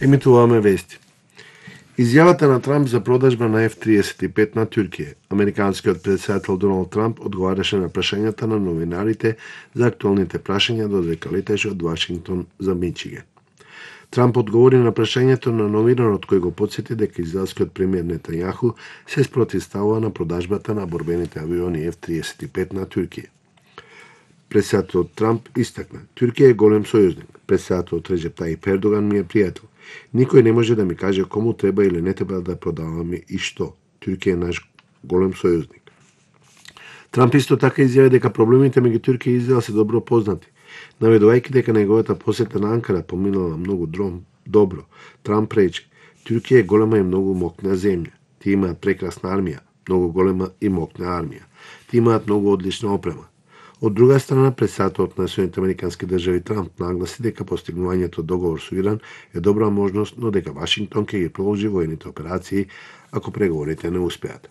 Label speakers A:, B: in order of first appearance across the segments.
A: Емитуваме вести. Изјавата на Трамп за продажба на F-35 на Туркија. Американскиот претседател Доналд Трамп одговараше на прашањата на новинарите за актуелните прашања додека летеше од Вашингтон за Мичиген. Трамп одговори на прашањето на новинарот кој го потсети дека израелскиот премиер Нетањаху се спротивставува на продажбата на борбените авиони F-35 на Туркија. Претседателот Трамп истакна: Туркија е голем сојузник. Претседателот Реџеп Тајип Ердоган ми е пријател. Никој не може да ми каже кому треба или не треба да продаваме и што. Туркија е наш голем сојузник. Трамп исто така изјави дека проблемите меѓу Туркија и Израел се добро познати. Наведувајќи дека неговата посета на Анкара поминала многу добро, Трамп рече: Туркија е голема и многу мокна земја. Тие имаат прекрасна армија, многу голема и мокна армија. Тие имаат многу одлична опрема. Од друга страна, претседателот на Соединетите американски држави Трамп нагласи дека постигнувањето договор со Иран е добра можност, но дека Вашингтон ќе ги продолжи воените операции ако преговорите не успеат.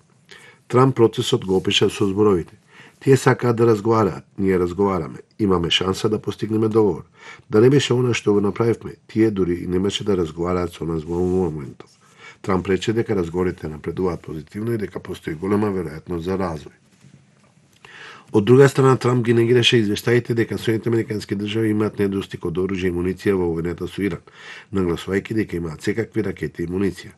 A: Трамп процесот го опиша со зборовите: Тие сакаат да разговараат, ние разговараме, имаме шанса да постигнеме договор. Да не беше она што го направивме, тие дури и немаше да разговараат со нас во моментов. Трамп рече дека разговорите напредуваат позитивно и дека постои голема веројатност за развој. Од друга страна, Трамп ги негираше извештаите дека Соединетите американски држави имаат недостиг од оружје и муниција во војната со Иран, нагласувајќи дека имаат секакви ракети и муниција.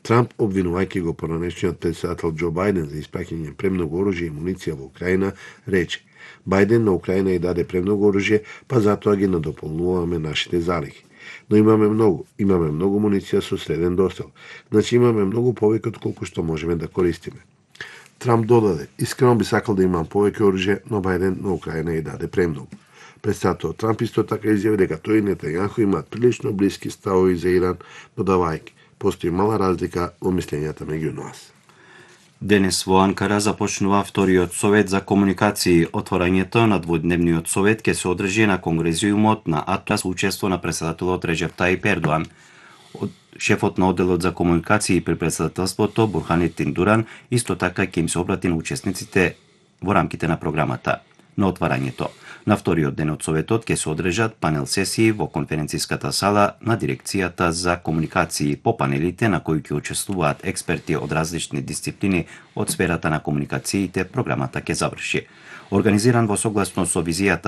A: Трамп, обвинувајќи го поранешниот претседател Џо Бајден за испраќање премногу оружје и муниција во Украина, рече: Бајден на Украина и даде премногу оружје, па затоа ги надополнуваме нашите залихи. Но имаме многу муниција со среден достел, значи имаме многу повеќе од колку што можеме да користиме. Трамп додаде: Искрено би сакал да имам повеќе оружје, но Бајден на Украина и даде премногу. Претседателот Трамп исто така изјави дека тој и Нетањаху имаат прилично блиски ставови за Иран, додавајќи: Постои мала разлика во мислењата меѓу нас.
B: Денес во Анкара започнува вториот совет за комуникации. Отворањето на дводневниот совет ќе се одржи на конгрезиумот на Атлас со учество на претседателот Реџеп Тајип Ердоган. Шефот на одделот за комуникации при претседателството Бурханетин Дуран исто така ќе им се обрати на учесниците во рамките на програмата. На отварањето на вториот ден од советот ќе се одржат панел сесии во конференциската сала на дирекцијата за комуникации. По панелите на кои ќе учествуваат експерти од различни дисциплини од сферата на комуникациите, програмата ќе заврши. Организиран во согласно со визијата